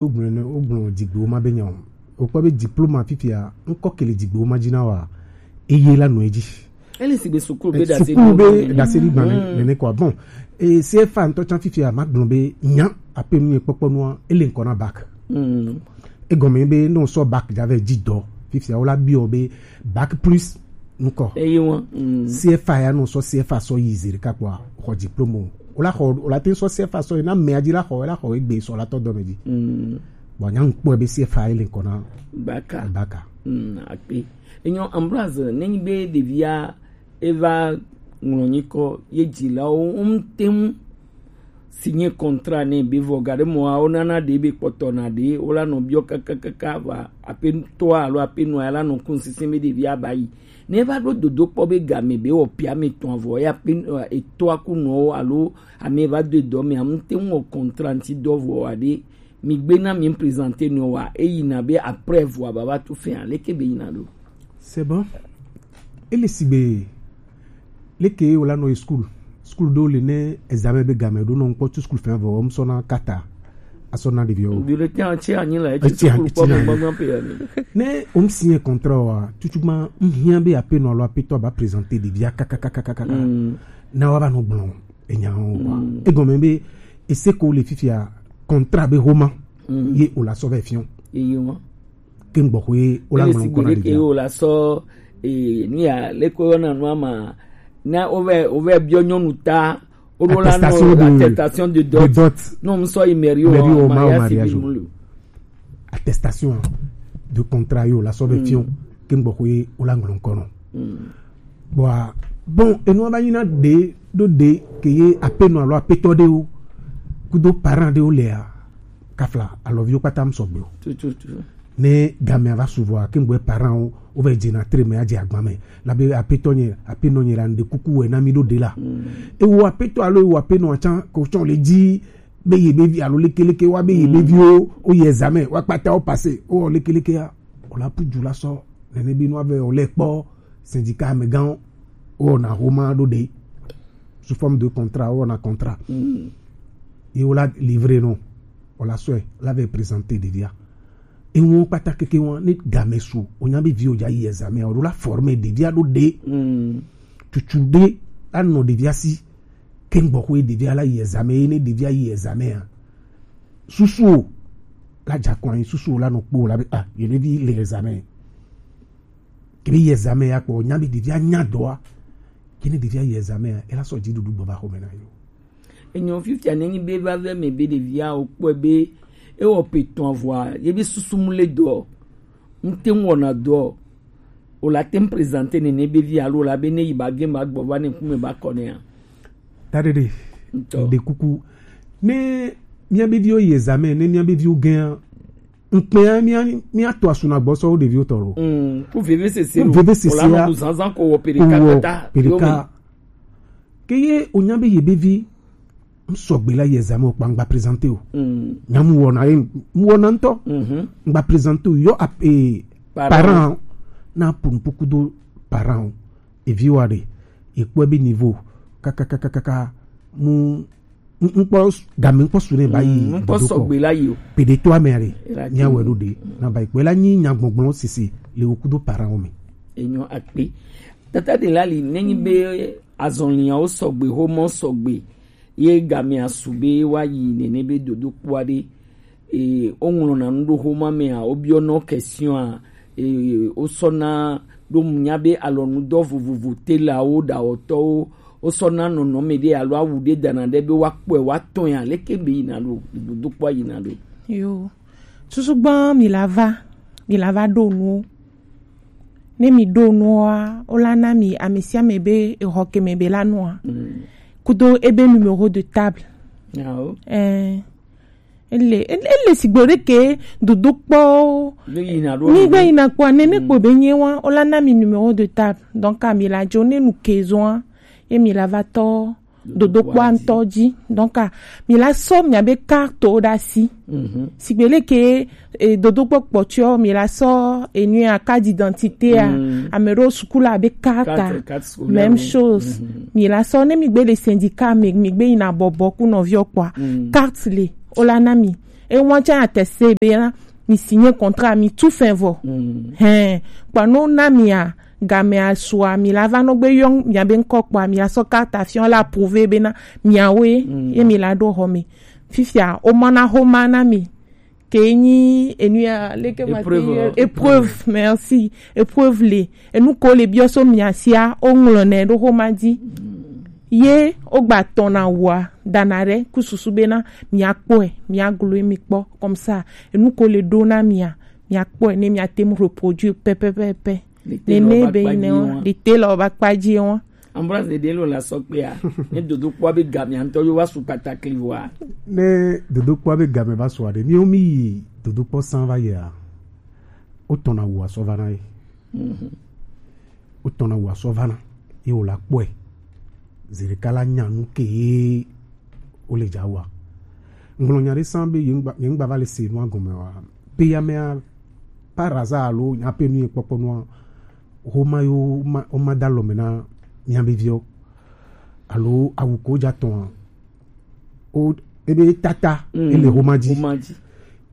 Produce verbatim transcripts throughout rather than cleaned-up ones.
Wogblɔ ne wogblɔ dzigbewo ma be nya o. Wokpɔ be diploma fifia ŋkɔ kele dzigbewo ma dzi na wa. Eye la nɔ edzi. Ele sigbe sukulu be dasedi sukulu be dasedi gba nene kɔ. Bon, e C F A ŋutɔ tsã fifia ma gblɔ be nya ape nu ye kpɔkpɔ nua ele ŋkɔ na bac. Egɔme be ne wosɔ bac dza vɛ dzi dɔ fifia wola biɔ be bac plus ŋkɔ. Eye wɔn. C F A ya no sɔ C F A sɔ yi zi ɖeka kpɔa xɔ diplôme o. Wola xɔ wola te sɔ C F A sɔ yi na mea dzi la xɔ la xɔ egbe sɔ la tɔ dɔme dzi. Bon, nya ŋkpɔ be C F A ele ŋkɔ na baka. Baka. Mm, akpe. Enyo Ambroise, nenyi be ɖevia eva ŋlɔ nyikɔ ye dzilawo ŋte ŋu signer contrat nɛ be vɔ gaɖe mɔa wonana ɖe be kpɔtɔ na ɖe wola nɔ biɔ kakakaka va aƒetɔa alo aƒenɔa la nɔ kun sisin be ɖevia ba yi. Ne va ɖo dodo kpɔ be game be wɔ pia mi tɔn vɔ ya pe etɔa ku nɔwo alo ame va do dɔ me am te wɔ contrat ŋti dɔ vɔ wa ɖe mi gbe na mi présenter nɔ wa eyi na be après vɔ baba tu fin aleke be yi na ɖo. C'est bon. Ele sigbe leke wòla nɔ yi school. School ɖewo le ne examen be game ɖo nɔ ŋkpɔ tu school fɛn vɔ wɔm sɔna kata asɔna ɖeviwo. Bi le tiɲɛ tiɲɛ anyi la eti school kpɔ me gbɔgbɔ pe ya ni. Ne wɔm signer contrat wa tutu ma n hiã be aƒenɔ alo aƒetɔ ba présenter ɖevia kakakakaka na wa va nɔ gblɔ enya wo wa egɔme be ese ko le fifia contrat be homa ye o la sɔ vɛ fiɔ. Eye wa. Ke ŋgbɔxɔ ye o la ŋlɔ ŋkɔ na ɖevia. Ke o la sɔ eh, nu ya leko yɔ na nua ma na o vɛ o vɛ biɔ nyɔnu ta o ɖo la nɔ attestation de dot. Non, m sɔ yi mairie o mariage civil mu lo. Attestation de contrat yo la sɔ vɛ fiɔ ke ŋgbɔxɔ ye o la ŋlɔ ŋkɔ nɔ. Bɔa bon enua va nyina ɖe ɖo ɖe ke ye apenɔ alo apetɔ ɖewo kudo parent ɖewo lea kafla alɔviwo kpata m sɔgbe o. Ne gamea va su vɔa ke ŋgbɔe parent wo wovɛ dzena tre me adze agba me labe apetɔ nye apenɔ nye la ŋɖe kuku wɛ na mi ɖo ɖe la ewo apetɔ alo ewo apenɔ atsa ko tsɔ le dzi be ye be vi alo lekeleke wa be ye be viwo wo yi examen wa kpata wo passe wo lekeleke ya o la pu dzu la sɔ nene be nua vɛ o le kpɔ syndicat amegãwo wɔna homa ɖo ɖe sous forme de contrat wɔna contrat ye wola livrer nɔ wòla sɔe la vɛ présenter ɖevia eŋuwo kpata keke wa ne game su wònya be viwo dza yi examen o la former ɖevia ɖo ɖe tutu ɖe anɔ ɖevia si ke ŋgbɔxɔe ɖevia la yi examen ye ne ɖevia yi examen a susuwo la dza kɔ anyi susuwo la nɔ kpɔ la be ah yeɖevi le examen ke be yi examen ya kpɔ nya be ɖevia nya dɔa ke ne ɖevia yi examen ya ela sɔ dziɖuɖu gbɔ va xɔme na yo. Enyo fifia ne nyi be va vɛ me be ɖevia o kpɔe be ewɔ pe tɔn avɔa ye be susu mu le dɔ ŋte ŋu wɔna dɔ o la te ŋu présenter nene be vi alo la be ne yi ba gem ba gbɔ va ne ŋkume ba kɔ ne ya. Daɖeɖe ɖe kuku ne mía be viwo yi examen ne mía be viwo gɛa ŋkpɛa mía mía to asuna gbɔ sɔ wo ɖeviwo tɔ lo. Ku veve sese lo veve sese ya ku zanzan ko wɔ peɖeka kata peɖeka ke ye o nya be ye be vi m sɔgbe la yi examen o kpa ŋgba présenter o nya mu wɔna ye mu wɔna ŋtɔ ŋgba présenter o yɔ ape parent na pun puku do parent o evi wa ɖe ekpɔe be niveau kakakakaka mu ŋkpɔ game ŋkpɔ su ne ba yi ŋkpɔ sɔgbe la yi o peɖetɔ ame aɖe mía wɛ ɖo ɖe na ba yi kpɔe la nyi nyagbɔgblɔ sese le wo kudo parent wo me. Enyo akpe tata de la li nenyi be azɔliawo sɔgbe homɔ sɔgbe ye gamea su be wa yi nene be dodo kpɔa ɖe e woŋlɔna nu ɖo homa mea wobiɔnɔ question a e wosɔna ɖo nya be alɔnudɔ vovovo telawo ɖawɔtɔwo wosɔna nɔnɔme ɖe alo awu ɖe dana ɖe be woakpɔe woatɔe aleke be yina ɖo dodo kpɔa yina ɖo. Yo susu gbɔn mi la va mi la va ɖo nuwo ne mi ɖo nua wola na mi ame sia ame be exɔ ke me be la nua kudo ebe numéro de table. Ele ele sigbe ɖe ke dodo kpɔ mi gbe yina kpɔ nene kpo be nye wa wola na mi numéro de table donc ami la dzo ne nu ke zɔa ye mi la va tɔ dodokpɔa ŋutɔ dzi donc mi la sɔ miabe kartowo ɖe asi sigbe leke e, dodokpɔ kpɔtɔ mi la sɔ enui a carte d'identité a ame ɖewo suku la abe carte a même chose mi la sɔ ne mi gbe le syndicat mi mi gbe yina bɔbɔ ku nɔviɔ kpɔa carte le wola na mi E wan tsa ya teste be na mi signer contrat, mi tu fin vɔ. Mm. Hein, kpɔ no na mi a, game a sua, mi la va no gbe yɔ mi a be nkɔ kpɔ, mi a sɔ carte fion la approuver be na mi a we, mm, ye mi la do home. Fifia, o mana homa na mi. Ke nyi enu ya, leke ma te yɔ? Épreuve. Épreuve, merci. Épreuve le. Enu ko le biɔ so mi a sia, o ŋlɔ nɛ do homa di. Ye o gba tɔn na wa, dana re, ku susu be na mi a kpɔe, mi a glo mi kpɔ, comme ça. Enu ko le do na mi a, mi a kpɔe, ne mi a tem reproduire pɛ, pɛ, pɛ, pɛ. Ne ne be ne wa, de te lɔ ba kpa ji wa. Ambroise de Delo la sɔ kpea, ne dodokpɔ be game ya ŋutɔ yo va su kpatakli wa. Ne dodokpɔ be game va su aɖe, mi o mi yi dodokpɔ san va yia, o tɔn na wa sɔ va na ye. Mhm. O tɔn na wa sɔ va na ye, o la kpɔe. Zereka la nya nu ke ye o le ja wa. Ŋlɔ nya ɖe san be ye ŋgba, ye ŋgba va le se nua gɔme wa. Be ya mea, par hasard alo nya pe nu ye kpɔkpɔ nua, homa yo ma, o ma da lɔ me na mia be viɔ. Alo awu ko ja tɔn a. O, ebe tata, mm, ele homa ji. Homa ji.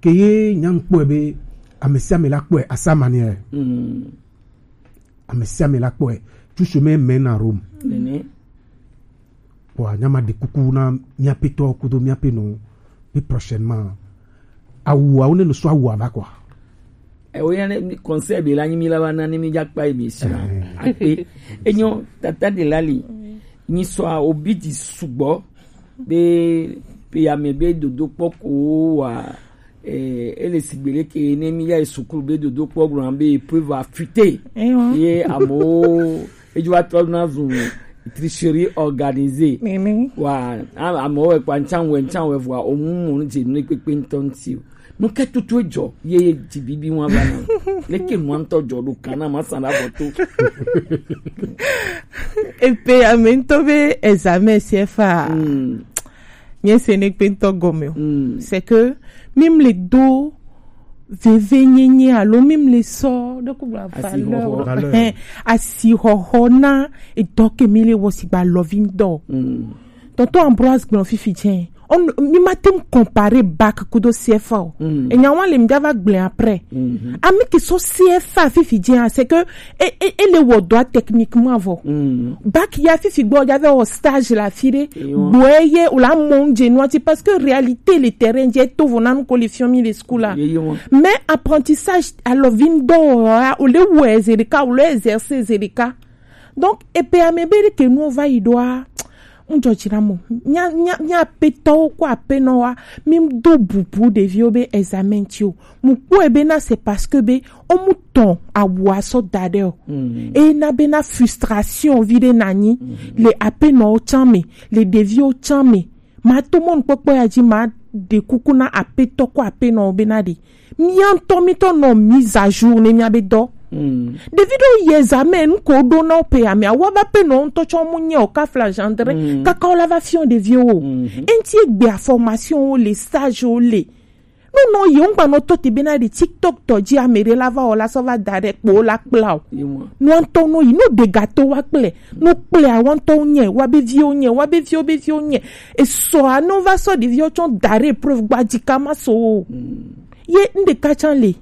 Ke ye nya ŋkpɔe be, ame sia ame la kpɔe, à sa manière. Mm. Ame sia ame la kpɔe. Tu chemin mène à Rome. Nene. Wa nya ma de kuku na mia petɔ kudo mia pe no. Be prochainement. Awu, awu ne no so awu ava quoi. E wo ya ne conseil be la nyi mi la va na ni mi ja kpa emission. Eh. Akpe. Enyo tata de la li. Nyi so a obi di sugbɔ. Be, be ya me be dodokpɔ ko wa. Eh, ele sigbe leke ne mi ya sukulu be dodokpɔ gblɔ be épreuve a fuite. Ewa. Ye amo, ejo wa trɔ na zun tricherie organisée. Mimi. Wa, a-, amewo wɛ kpa ŋtsan wɛ, ŋtsan wɛ vɔa, omu mo nu dze nu kpekpe ŋutɔ ŋuti o. Nu ke tutu edzɔ, ye, ye dzi bibi wa va na. Leke nua ŋutɔ dzɔ ɖo kan na ma sa na bɔ to. Epe ame ŋutɔ be examen C F A. Mm. Nye se ne kpe ŋutɔ gɔme o. Mm. C'est que, mi mle do veve nyenye alo mi mle sɔ ɖe ku gba valeur. Asixɔxɔ. Valeur. Hein, asixɔxɔ na edɔ ke mi le wɔ sigba lɔvi ŋdɔ. Mm. Tonton Ambroise gblɔ fifi tsɛ. On, mi ma tem comparer bac kudo C F A o. Mm. Enya wa le mi ja va gblẽ après. Mhm. Ami ke so C F A fifi tsɛ, c'est que e, e, e le wɔ dɔ techniquement vɔ. Mm. Bac ya fifi gbɔ ja va wɔ stage la fi ɖe. Eyo. Gbɔ ye o la mon je noiti parce que réalité le terrain je to vo nanu ko le fion mi le school la. Eyo. Mais apprentissage alors vim do o le wɔ zerika, o le exercer zerika. Donc, epe ame be ke nu va yi ɖoa, ŋdzɔ dzi na mo. Mía, mía, mía aƒetɔwo kple aƒenɔwoa, mi do bubu ɖeviwo be examen ti o. Mu kpɔe be na c'est parce que be o mu tɔn awu asɔ da ɖe o. Mm. E na be na frustration vi ɖe na nyi. Mm. Le aƒenɔwo tsã me, le ɖeviwo tsã me. Ma to mɔnukpɔkpɔ ya dzi, ma ɖe kuku na aƒetɔ kple aƒenɔwo be na ɖe. Mía ŋutɔ mítɔ nɔ mise à jour ne mía be dɔ. Mm. Ɖevi ɖewo yi examen, nu ko ɖo na wo pe amea, wa va pe nɔ ŋutɔ tsɔ mu nye o, ka fla gendre, mm, kaka wo la va fiɔ ɖeviwo. Mm. Enti egbe formation wo le, stage wo le. No nɔ yi, ŋgba nɔ to te be na ɖe TikTok tɔ dzi ame ɖe la va wɔ la sɔ va da ɖe kpo la kpla o. Ye mɔ. Nua ŋutɔ nɔ yi, no ɖe gato wa kple, no kple awa ŋutɔ nye, wa be viwo nye, wa be viwo be viwo nye. Esɔa no va sɔ ɖeviwo tsɔ da ɖe épreuve gba dzi ka ma so o. Mm. Ye ŋɖeka tsã le.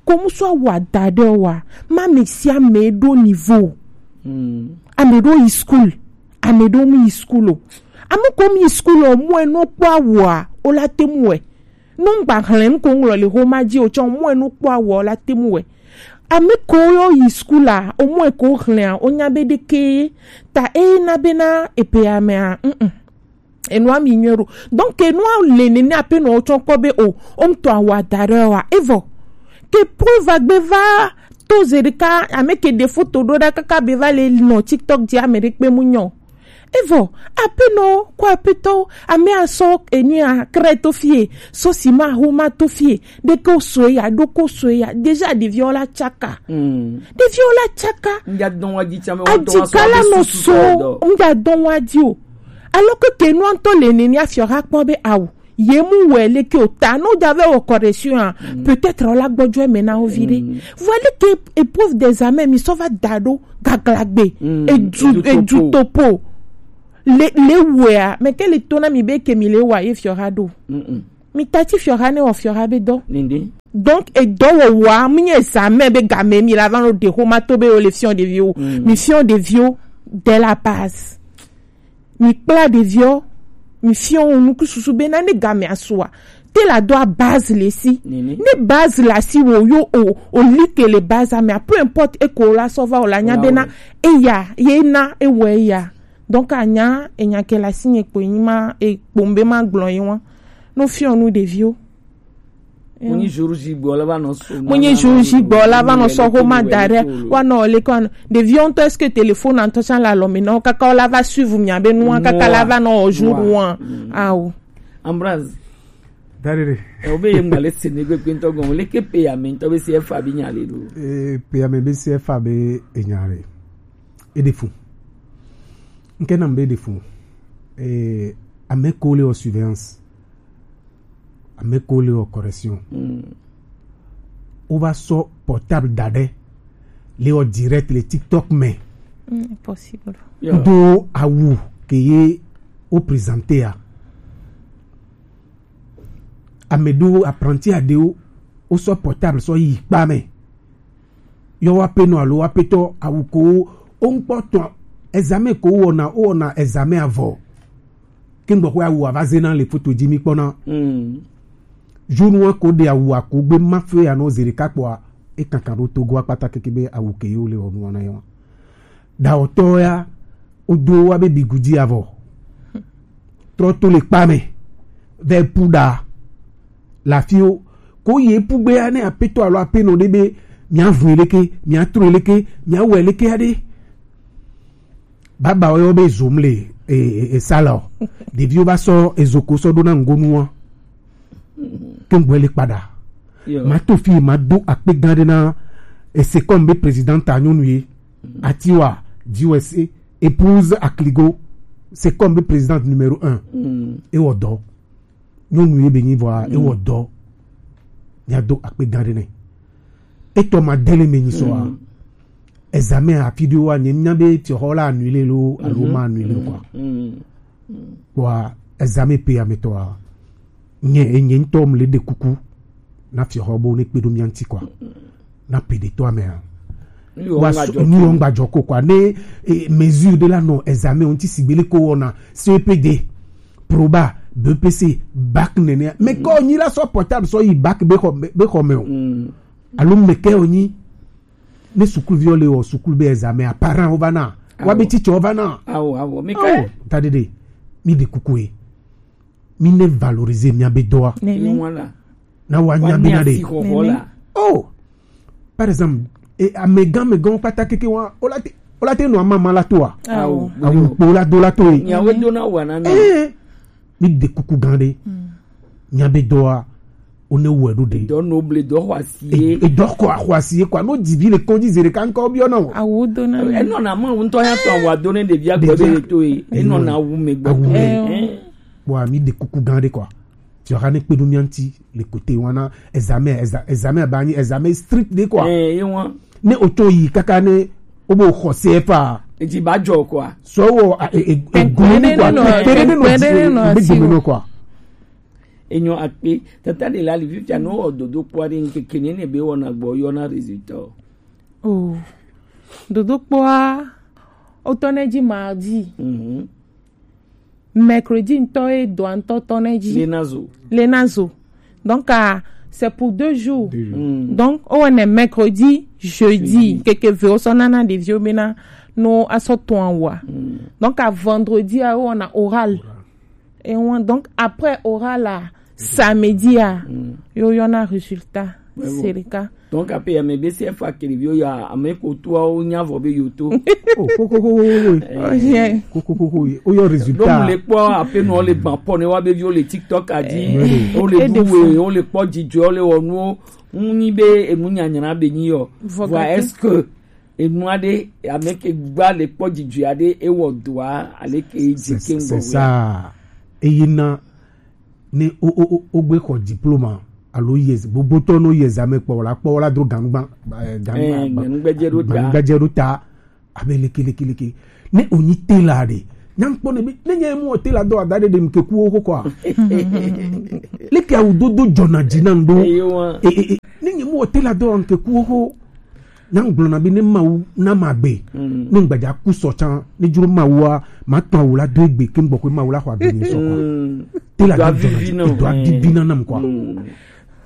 Ko musu awu ada ɖe wa. Ma ame sia ame ɖo niveau. Mm. Ame ɖo yi school. Ame ɖo mu yi school o. Ame ko mu yi school o, mu eno kpɔ awua, o la te mu wɛ. No ŋgba hlẽ nu ko ŋlɔ le xoma dzi o tsɔ mu eno kpɔ awua, o la te mu wɛ. Ame ko yo yi school a, o mu eko hlẽ a, o nya be ɖeke ta e na be na epe ame a. Mm. Enua mi nyuie ɖo. Donc, enua le nene ape nɔ tsɔ kpɔ be o, o ŋutɔ awa da ɖe wa. Evɔ. Ke preuve agbe va to ze ɖeka, ame ke ɖe foto ɖo ɖa kaka be va le nɔ TikTok dzi ame ɖe kpe mu nyɔ. Evɔ, ape nɔ, kɔ ape tɔ, ame asɔ enu a krɛ to fie, sɔ si ma ho ma to fie, ɖe ko so ya, ɖo ko so ya, déjà ɖeviwo la tsaka. Mm. Ɖeviwo la tsaka. Ŋdza dɔn wa dzi tsame, wa dɔ wa so. Adzika la abe nɔ susu so, sɔ dɔ. Ŋdza dɔn wa dzi o. Alors que ke nua ŋutɔ le nene afiɔ ha kpɔ be awu. Ye mu wɛ leke o ta, no ja vɛ wɔ correction a, mm, peut-être o la gbɔjɔ eme na wo vi ɖe. Mm. Vɔ leke épreuve d'examen mi sɔ va da ɖo gaglagbe. Mm. Edu, edu topo. Edu topo. Le, le wɛa, mɛ ke le to na mi be ke mi le wa ye fiɔ ha ɖo. Mm-mm. Mi tati fiɔha ne wɔ fiɔha be dɔ. Ninde. Donc, e dɔ wɔ wa, mi nye examen be game mi la va no de ho ma to be o le fiɔ de viwo. Mm. Mi fiɔ de viwo de la base. Mi kpla de viwo, mi fiɔ wo nuku susu be na ne game asua. Te la do a base le si. Ninde. Ne base la si wo yo o, o like le base, mais peu importe e ko la sova o la nya be na e ya, ye na e wɔ e ya. Donc, a nya, e nya ke la si nye kpo, nyi ma, e kpo mbe ma gblɔ ye wa. No fiɔ nu ɖeviwo. Mo nyi jour J gbɔ la va nɔ so. Mo nyi jour J gbɔ la va nɔ so ko ma da ɖe. Wa nɔ le ko. Ɖeviwo ŋutɔ, est-ce que téléphone ŋutɔ tsã le alɔ me na wo kaka wo la va suivre mia be nua kaka la va nɔ jour wa. Awo. Ambroise. Darere. E o be ye ŋgba le se ne gbegbe ŋutɔ gɔn. Le ke pe ya me ŋutɔ be si efa bi nya le do. E pe ya me be si efa be enya le. E de fun. Nke na mbe de fun. E ame ko le o surveillance. Ame ko le o correction. Mm. O va so portable da ɖe le o direct le TikTok me. Mm, possible. Yeah. Do awu ke ye o présenter a. Ame do apprenti a de o, o so portable so yi kpa me. Yɔ wa pe nɔ alo wa pe tɔ awu ko o ŋkpɔ tɔ examen ko wɔna o wɔna examen avɔ. Ke ŋgbɔ ko awu ava zena le foto dzi mi kpɔna. Mm. Jour wa ko de awu ko gbe ma fe ya no zere kakpɔa e kankan ɖo Togo akpata keke be awu ke yo le wɔnu wɔna yɔ. Dawɔtɔ ya o do wa be bigudi avɔ. Trɔ to le kpa me. Ve pu da. La fi o. Ko ye pu gbe ya ne apetɔ alo apenɔ ɖe be mia vu leke, mia tro leke, mia wɔ leke ya ɖe. Baba wo be zom le e, e, e sala o. Ɖeviwo va sɔ ezo ko sɔ ɖo na ŋgonu wa. Ke ŋgɔe le kpaɖa. Yo. Ma to fi ma do akpe gã ɖe na e se comme be président ta nyɔnu ye. Atiwa, D U S A, épouse Akligo, c'est comme be présidente numéro un. Mm. E wɔ dɔ. Nyɔnu ye be nyi vɔa, e wɔ dɔ. Mia do akpe gã ɖe nɛ. Etɔ ma dele me nyi sɔa. Mm. Examen a fi ɖe wa nye nya be tiɔxɔ la annulé lo, alo ma annulé lo quoi. Mm. Wa examen pe ametɔa. Nye, nye ŋutɔ mle ɖe kuku. Na fiɔxɔ bo ne kpe ɖo mia ŋuti quoi. Na pe ɖe to amea. Wa so, nu wɔn gba jɔ ko quoi. Ne, eh, mesure de la non examen on ti sigbele ko wɔna C E P D, Proba, B E P C, bac nene. Mais ko nyi la so portable so yi bac be xɔ, be xɔ me o. Mm. Alo me ke o nyi. Ne sukuviwo le wɔ sukulu be examen a, parent wo va na. Wa be teacher wo va na. Awo, awo. Mi ke? Awo, ta dede. Mi de kuku e. Mi ne valoriser mia be dɔa. Nene. Na wa nya be na de. Oh. Par exemple, e amegã megã kpata keke wa, o la te, o la te nɔ amama la toa. Awo. Awu kpo la do la to e. Nyawe do na wa na na. Eh. Mi de kuku gã ɖe. Mia be dɔa, o ne wɔ ɖo ɖe. Dɔ no ble dɔ xɔ asi ye. E, e dɔ kɔ axɔ asi ye quoi. No dzivi le kɔdzi zere kankan obiɔ na o. Awu do na. E nɔ na ma ŋutɔ ya tɔ awu do ne ɖevia gbɔ be le to ye. E nɔ na awu me gbɔ. Awu me. Eh. Wa mi de kuku gã ɖe quoi. Ti wa ne kpe ɖo mia ŋuti le kote wana examen, exa-, examen ba nyi examen strict ɖe quoi. Eh, ye wa. Ne o to yi kaka ne o bo xɔ C F A. Edzi ba jɔ quoi. So wo a, e, e, e, gu ni quoi. Kpɛɖe ne nɔ, kpɛɖe ne nɔ, kpɛɖe ne nɔ be asi gome wo. Nɔ quoi. Enyo akpe, tata de la li fifia no o dodo kpɔ ɖe ŋkeke ne ne be wɔna gbɔ yɔ na résultat o. Oh. Dodo kpɔa, o tɔ ne dzi mardi. Mhm. Mercredi ŋutɔ ye dɔa ŋutɔ tɔ ne dzi. Lenazo. Lenazo. Donc, ah, c'est pour deux jours. Deux jours. Mm. Donc, o ne mercredi, jeudi, jeudi. Keke ve o sɔ nana ɖeviwo be na no asɔ tɔn wa. Mm. Donc, à vendredi, ah, o na oral. Oral. Et on, donc, après oral la, samedi a, yo yɔna résultat. Mais bon. C'est le cas. Donc, après, il y a mes B C F a qui revient, il y a mes côtois, on y a volé YouTube. Oh, ko, ko, ko, ko, ko, ko. Eh. Oh, yeah. Ko, ko, ko, ko, ko. Oh, yo résultat. Donc, les points, après, nous, on les banc, pour nous, on les view, les TikTok a dit, eh, on les et des doux, fois. On les points, Didier, on les, on nous, on y va, et nous, on y a, on y a, on y a. Voilà, est-ce que Enua ɖe, ame ke gba le kpɔ dzidzɔe aɖe, ewɔ dɔa, aleke yi dzi ke ŋgɔ. C'est ça. Eye na ne o, o, o, o gbe xɔ diplôme alo yi ex-, gbogbo tɔ no yi examen kpɔ la, kpɔ la dro ganugba, eh, ganugba, eh, ganugba dze ɖo ta. Ganugba dze ɖo ta. Abe leke, leke, leke. Ne o nyi tela ɖe, Nyankpɔ ne bi ne nye mu o te la do ada de dem ke ku o ko kwa. Leke awu dodo jɔna dzi na ŋdo. Eyo wa. E e e. Ne nye mu o te la do an ke ku o ko. Na ŋgblɔ na bi ne mawu na ma gbe. Ne ŋgbadza ku sɔ tsan ne dzro mawu a ma tɔn awu la do egbe ke ŋgbɔ ko mawu la xɔ agbe nye sɔ kwa. Te la do jɔna dzi. Edo avivi na nam kwa.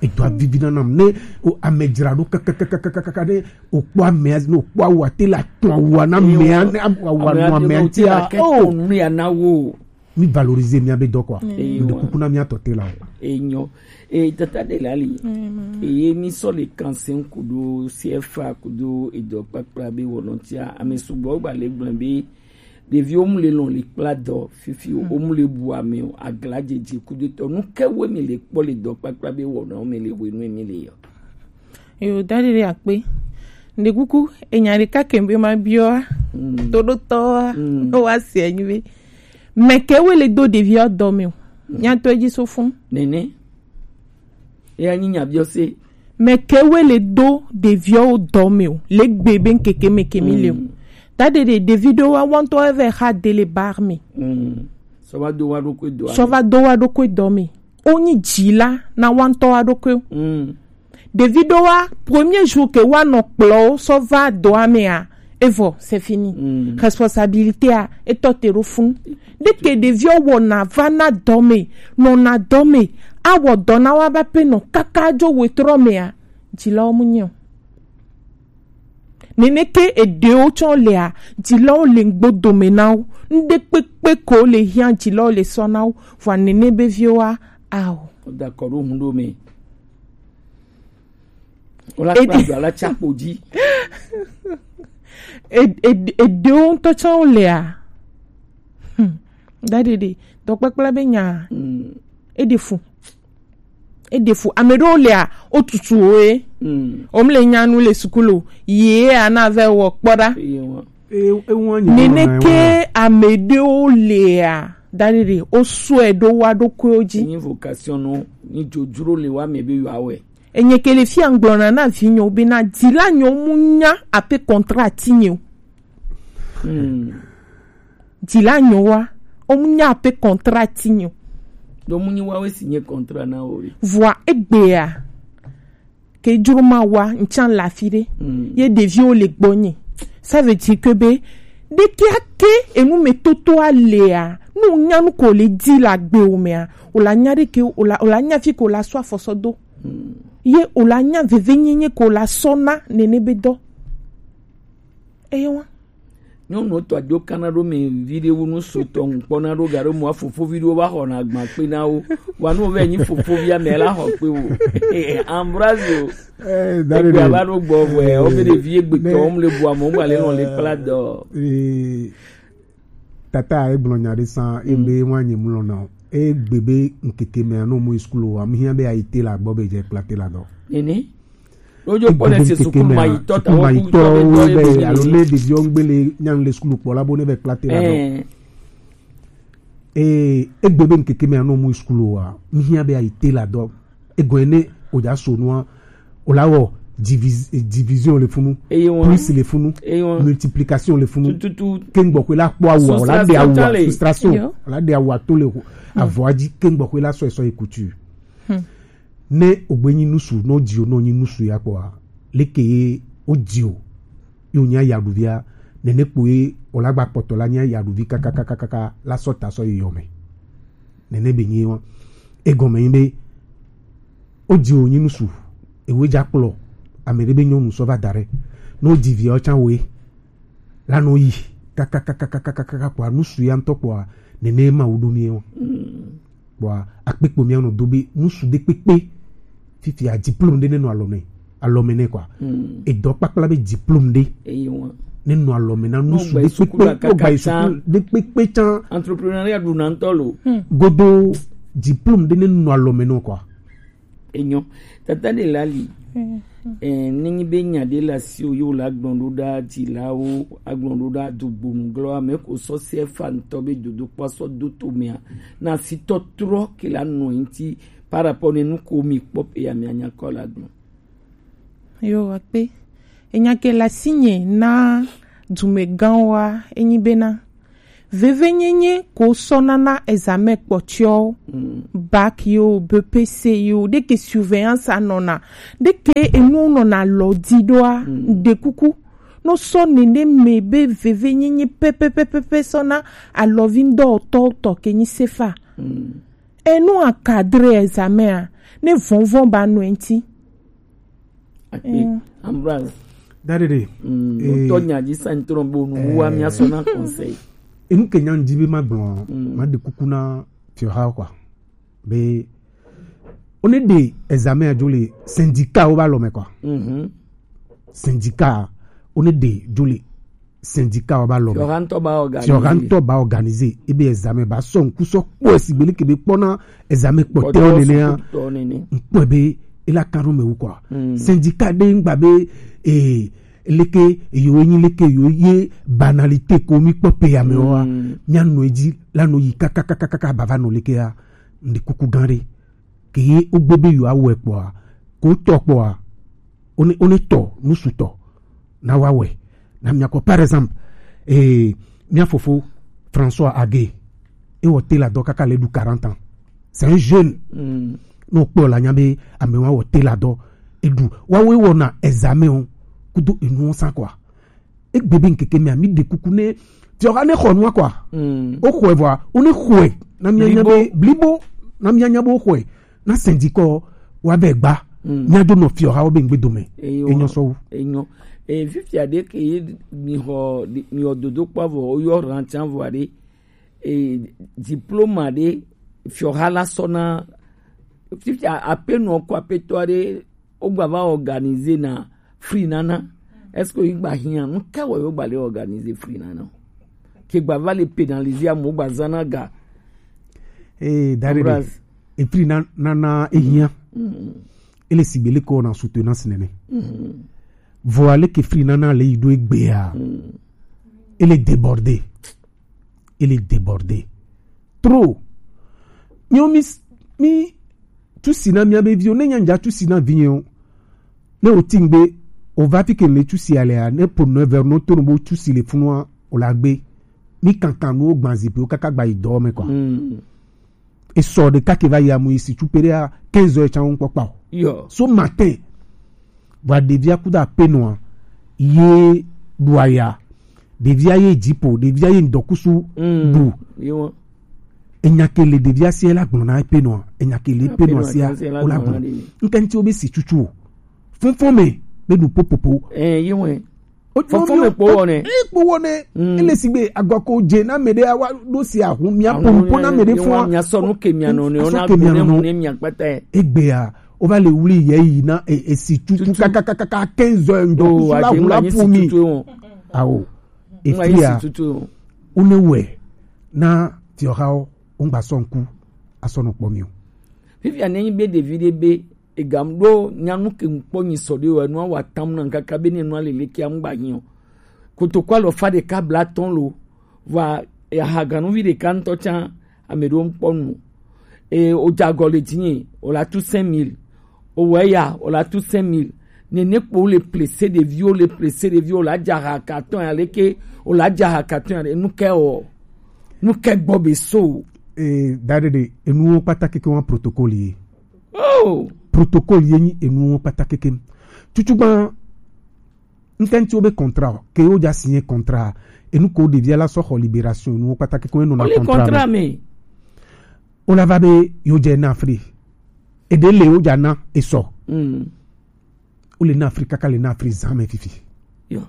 Edo avivi na nam ne o ame dzra ɖo kakakakaka ne o kpɔ amea ne o kpɔ awua te la tɔn awua na amea ne awua nɔ amea ŋuti a o. Mi valoriser mia be dɔ quoi. Mi ɖo kuku na mia tɔ te la o. Enyo. E tata de la li. Eye mi sɔ le kansen kudo C F A kudo edɔ kpakpla be wɔnɔ tia ame sugbɔ gba le gblẽ be ɖeviwo mu le lɔn le kpla dɔ fifi o, wo mu le bu ame o, agla dzedze kudetɔ. Nu ke woe mi le kpɔ le dɔ kpakpla be wɔna wo mi le wenu mi le yɔ? Yo, dadi ɖe akpe. Nde kuku, enya ɖeka ke be ma biɔ a, toɖotɔ a, no wa se anyi be. Mɛ ke woe le do ɖeviwo dɔ me o. Nya to edzi so fun. Nene. Eya nyi nya biɔ se. Mɛ ke woe le do ɖeviwo dɔ me o, le gbe be ŋkeke me ke mi le o. Ta ɖe ɖe ɖevi ɖewo wa wɔntɔ eve xa de le bar me. Sɔ va do wa ɖokui dɔ. Sɔ va do wa ɖokui dɔ me. Wo nyi dzila na wɔntɔ wa ɖokui. Ɖevi ɖewo wa premier jour ke wa nɔ kplɔ wo sɔ va dɔa me a, evɔ c'est fini. Responsabilité a etɔ te ɖo fun. Ɖeke ɖeviwo wɔna va na dɔ me, nɔna dɔ me, awɔ dɔ na wa ba pe nɔ kaka dzo wetrɔ me a, dzilawo mu nyi o. Nene ke eɖewo tsɔ lea, dzilawo le ŋgbo dome na wo. Ŋɖe kpekpe ko le hiã dzilawo le sɔ na wo. Vɔa nene be viwo wa a o. Dakɔ ɖo hun ɖo me. Wola kpla do ala tsa kpo dzi. Eɖewo ŋutɔ tsã wolea. Hmm. Daɖiɖi dɔkpakpla be nya. Eɖe fu. Eɖe fu. Ame ɖewo lea, wotutu wo ye. Womle nya nu le sukulu o. Ye ana vɛ wɔ kpɔ ɖa. Nene ke ame ɖewo lea, daɖiɖi wosɔe ɖo wa ɖokuiwo dzi. Ni vocation no, ni dzodzro le wa me be yewoawɔe. Enye ke le fia ŋgblɔna na vinyewo bena, dzila nyewo mu nya ape contrat ti nye o. Dzila nyewoa, wo mu nya ape contrat ti nye o. Donc mu nyi wawe si nye contrat na wo. Vɔa egbea, ke dzro ma wa ŋtsan le afi ɖe. Ye ɖeviwo le gbɔnye. Ça veut dire que be ɖeke ake enu me toto alea, nu nya nu ko le di le agbe wo mea, o la nya ɖeke, o la, o la nya fi ko la sɔ afɔsɔ do. Ye o la nya veve nyenye ko la sɔ na nene be dɔ. Eye wa. Nyɔnu tɔ adzo kana ɖo mi vi ɖe wu nu su tɔ ŋkpɔ na ɖo ga ɖo mɔ fofo vi ɖewo va xɔ na agba kpe na wo. Wa nu ve nyi fofo via me la xɔ kpe wo. Ambroise o. Eh, dare egbe de. Ava ɖo gbɔ vɔ o be ɖe vi egbe tɔ wo mu le bu amɔ mu ale nɔ le kpla dɔ. Eh, tata egblɔ nya ɖe san embe wa nyi mu lɔ na o. Egbe be ŋkeke me no mu school wa mu hia be ayi te la gbɔ be je kpla te la dɔ. Nene. Wodzo kpɔ le se sukulu ma yi tɔ ta wo ku tɔ be dɔ ye be alo le ɖeviwo ŋgbe le nyanu le sukulu kpɔ la bo ne be kpla te la dɔ. Ee, egbe be ŋkeke me anɔ mu sukulu wa, mihia be ayi te la dɔ. Egɔe ne o dza so nua, o la wɔ divis-, division le funu, plus le funu, multiplication le funu. Tututu. Ke ŋgbɔ ko la kpɔ awu, o la de awu, frustration, o la de awu to le avɔ dzi, ke ŋgbɔ ko la sɔ sɔ ye couture. Ne ogbe nyi nusu, no dio no nyi nusu ya kpɔa, leke ye o dio, yo nya ya ɖuvia, nene kpo ye o la gba kpɔtɔ la nya ya ɖuvi kakakakaka la sɔ ta sɔ yi yɔ me. Nene be nyi wa. Egɔme nyi be, o dio nyi nusu, ewe dza kplɔ, ame ɖe be nyɔnu sɔ va da ɖe. No di via o tsa we, la no yi, kakakakaka kpɔa, nusu ya ŋtɔ kpɔa, nene ma wo ɖo mi wa. Kpɔa akpekpo mía nɔ do be nusu ɖe kpekpe fifia diplôme ɖe ne nɔ alɔme, alɔme nɛ kɔa. Edɔ kpakpla be diplôme ɖe ne nɔ alɔme na nusu ɖe kpekpe, no gba yi sukulu ɖe kpekpe tsan. Entrepreneuriat ɖu na ŋtɔ lo. Godo diplôme ɖe ne nɔ alɔme nɔ kɔa. Enyo. Tata ɖe la li. Eh, nenyi be nya ɖe le asiwo ye wo la gblɔ ɖo ɖa dzilawo, agblɔ ɖo ɖa dugbonu glɔ ame ko sɔ C F A ŋtɔ be dodokpɔ sɔ do to mea, na sitɔ trɔ ke la nɔ ŋti par rapport ne nu ko mi kpɔ pe ya mi anya kɔ la gblɔ. Yo, akpe. Enya ke la sinye na dumegãwoa, enyi bena, Vevenyenye ko sɔna na examen kpɔtiɔ, bac yo, B P C yo, ɖeke surveillance anɔna, ɖeke enu nɔna lɔ di ɖoa, ɖe kuku. No sɔ nene me be vevenyenye pɛpɛpɛpɛ sɔna alɔvi ŋdɔ tɔ tɔ ke nyi sefa. Enu a cadre examen a, ne vɔnvɔn ba nɔ enti. Akpe. Ambroise. Dadede. Mm, eh, otɔ nya dzi sa ntro bo nu wa mi aso na conseil. Enu ke nya ŋdi be ma gblɔ, ma ɖe kuku na fiɔha kwa. Be, o ne ɖe examen a dzo le syndicat wo ba lɔ me kwa. Mhm. Syndicat, o ne ɖe dzo le syndicat wo ba lɔ me. Fiɔha ŋtɔ ba organiser. Fiɔha ŋtɔ ba organiser. Ebe examen ba sɔ ŋku sɔ kpɔ esi gbele ke be kpɔna examen kpɔtɛwo nenea. Ŋkpɔe be ela kan ɖo me wu kɔ. Syndicat ɖe ŋgba be, eh, leke yo enyi leke yo ye banalité ko mi kpɔ pe ya me wa. Mi anɔ edzi la nɔ yi kakakakaka ba va nɔ leke ya. Ndi kuku gan ɖe. Ke ye ogbe be yo awɛ kpɔa, ko tɔ kpɔa, o ne, o ne tɔ nu sutɔ na wa wɛ. Na miakɔ, par exemple, eh, mia fofo François Agué, e wɔ tela dɔ kaka le ɖu quarante ans. C'est un jeune. No kpɔ la nya be ame wa wɔ tela dɔ e ɖu. Wa wo e wɔ na examen o kudo enu sa quoi. Egbe be ŋkeke mea, mi ɖe kuku ne fiɔha ne xɔ nua kɔa. O xɔe vɔa, o ne xɔe na mia nya be blibo, na mia nya be o xɔe na syndicat wa be gba. Mia do nɔ fiɔha wo be ŋgbe dome. Enyɔ sɔ wu. Enyɔ. E, fifia ɖe ke ye mi xɔ, mi xɔ dodo kpɔ vɔ, o yɔ rantsan vɔ ɖe. E, diplôme ɖe fiɔha la sɔ na, fifia apenɔ ko apetɔ ɖe, o gba va organiser na fri nana. Est-ce que yi gba hiã? Nu ka wɔ yo gba le organiser fri nana? Ke gba va le pénaliser amo gba zana ga. Eh, dare de. Ambroise. E fri na, nana e hiã. Ele sigbe le ko na soutenance nene. Vɔ ale ke fri nana le yi do egbea. Ele débordé. Ele débordé. Trop. Miwo mi, mi tusi na mia be viwo, ne nya ŋdza tusi na vinye o. Ne o ti ŋgbe, o va fi ke le tusi alea, ne po neuf heures no to no bo tusi le funua, o la gbe. Mi kankan nu o gban zipi o kaka gba yi dɔ me quoi. E sɔ ɖeka ke va yi amu yi si tu pere a quinze heures tsan ŋkpɔ kpa o. Yo. So matin, vɔa ɖevia kudo apenɔa ye ɖu aya. Ɖevia ye dzipo, ɖevia ye ŋdɔkusu ɖu. Enya ke le ɖevia sia la gblɔ na epenɔa, enya ke le epenɔa sia o la gblɔ. Ŋkɛntsi wo be si tutu o. Fɔnfɔn me be ɖu popopo. Eh, ye wɛ. Fɔnfɔn me kpo wɔ nɛ. E kpo wɔ nɛ. Ele sigbe agɔ ko dze na me ɖe awa ɖo si ahun mia po po na me ɖe fɔn. Mia sɔ nu ke mia nɔ ne, ona do ne mu ne mia kpata. Egbea, o va le wuli ye yi na e, e si tutu kakakaka quinze heures ŋdɔkusu la hu la fu mi. Awo. Efia. O ne wɛ na fiɔhawo, o ŋgba sɔ ŋku asɔ nɔ kpɔ mi o. Fifia ne nyi be ɖevi ɖe be egam ɖo nyanu ke ŋkpɔ nyi sɔ ɖe o, enua wa tam na ŋkaka be ne nua lele ke amgba nyi o. Kotoko alɔfa ɖeka blatɔn lo, vɔa, e, aha ganuvi ɖeka ŋtɔ tsan, ame ɖewo ŋkpɔ nu o. E, o dze agɔ le dzinye, o la tu cinq mille. O wɔ eya, o la tu cinq mille. Nene kpo wo le plese ɖeviwo, le plese ɖeviwo, o la dze aha katɔn ya leke, o la dze aha katɔn ya le, nu ke wɔ, nu ke gbɔ be so. E, da ɖe ɖe, enuwo kpata keke wa protocole ye. Oh! Protocole ye nyi enuwo kpata keke. Tutu gban, ŋkɛntsi wo be contrat, ke wo dza signé contrat, enu ko ɖevia la sɔ xɔ libération, enuwo kpata keke wo nɔ na contrat me. O la va be yo dze na fri. Eɖe le wo dza na esɔ. Mm. O le na fri kaka le na fri zan me fifi. Yo.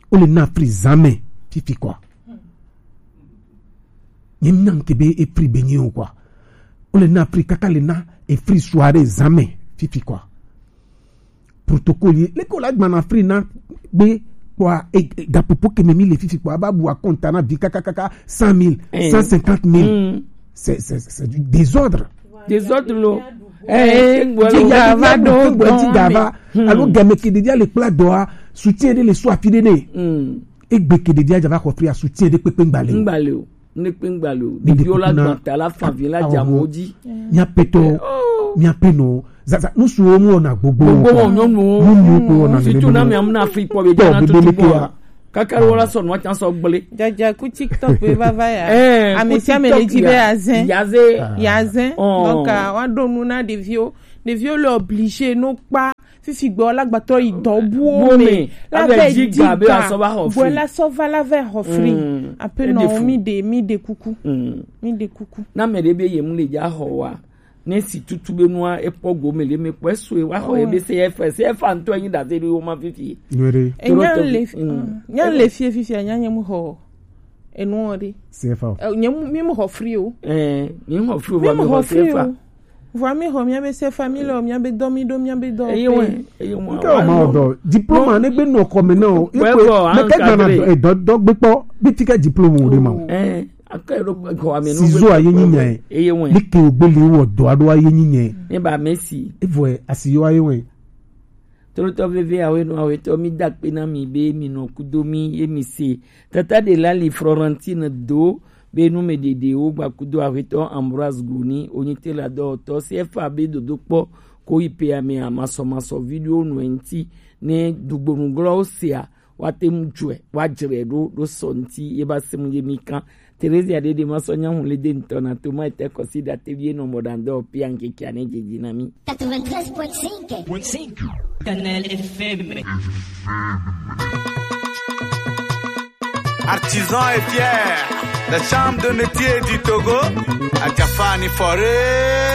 O le na fri zan me fifi quoi. Nye mi na ŋke be e fri be nye o quoi. O le na fri kaka le na e fri soirée zan me fifi quoi. Protocole ye. Leke o la gba na fri na gbe kpɔa, e, e, gapopo ke me mi le fifi kpɔa, a ba bu akɔnta na vi kakakaka cent mille, cent cinquante mille. C'est, c'est, c'est du désordre. Désordre lo. Eh, eh, dzi ga va ɖo dɔn me. Alo game ke ɖevia le kpla dɔa, soutien ɖe le so afi ɖe ne. Egbe ke ɖevia dza va xɔ fria, soutien ɖe kpekpe ŋgba le o. Ŋgba le o. Ne kpe ŋgba le o. Ɖeviwo la gbã ta la fa vi la dza mo dzi. Mia petɔ, mia penɔ. Zaza, nusuwo mu wɔna gbogbo. Gbogbo wɔ nyɔnuwo. Nyɔnuwo ko wɔna. Surtout na mia mna Afrique kpɔ be dza na tutu kpɔ. Kaka ɖe wo la sɔ nua can sɔ gblẽ. Jaja ku TikTok be vava ya. Eh, ame sia ame le dzi be ya, yazẽ. Yazẽ. Yazẽ. Oh. Donc, ah, wa ɖo nu na ɖeviwo. Ɖeviwo le obligé no kpa fifi gbɔ la gbatɔ yi dɔ buwo me. La be dzi ga be asɔ va xɔ free. Gbɔ la sɔ va la va xɔ free. Mm. Ape nɔ mi de, mi de kuku. Mm. Mi de kuku. Na me ɖe be ye mu le dza xɔ wa. Ne si tutu be nua ekpɔ gome le me kpɔ eso wa xɔ ye be se efa, se efa ŋutɔ enyi ɖase ɖo wo ma fifi. Nyuie ɖe. Enya le fi, mm, nya le fi fifi nya nye mu xɔ enu ɖe. Se efa. Eh, nye mu, mi mu xɔ free o. Eh, mi mu xɔ free o, mi mu xɔ free o. Vɔa mi xɔ mia be se famille o, mia be dɔ mi ɖo, mia be dɔ. Eye wɛ, eye wɛ. Nke o ma dɔ diplôme ne gbe nɔ kɔme na o. Ekpe me ke gbana dɔ dɔ gbe kpɔ bi ti ke diplôme o de ma. Eh, ake ɖo xɔ ame no. Sizo aye nyi nya. Eye wɛ. Ni ke o gbe le wɔ dɔ aɖo aye nyi nya. Ne ba Messi. Evɔ asi yo aye wɛ. Trotɔ veve awe no awe tɔ mi da kpe na mi be mi nɔ kudo mi ye mi se. Tata de la li Florentine do be nu me ɖeɖe wo gba kudo awe tɔ Ambroise Goni onyi te la dɔ tɔ C F A be dodo kpɔ ko yi pe ame amasɔ masɔ video no enti ne dugbonu glɔ o se a wa te mu jɔe wa jre ɖo ɖo sɔ enti ye ba se mu ye mi kan. Theresia ɖeɖe ma sɔ nya hu le de ŋutɔ na to ma ete kɔsi da te vie nɔ mɔ ɖa ŋdɔ pia ŋkeke ane dzedzi na mi. Quatre-vingt-treize point cinq. Point cinq. Kanal F M. Artisan et fier, la chambre de métier du Togo, à Jafani Forêt.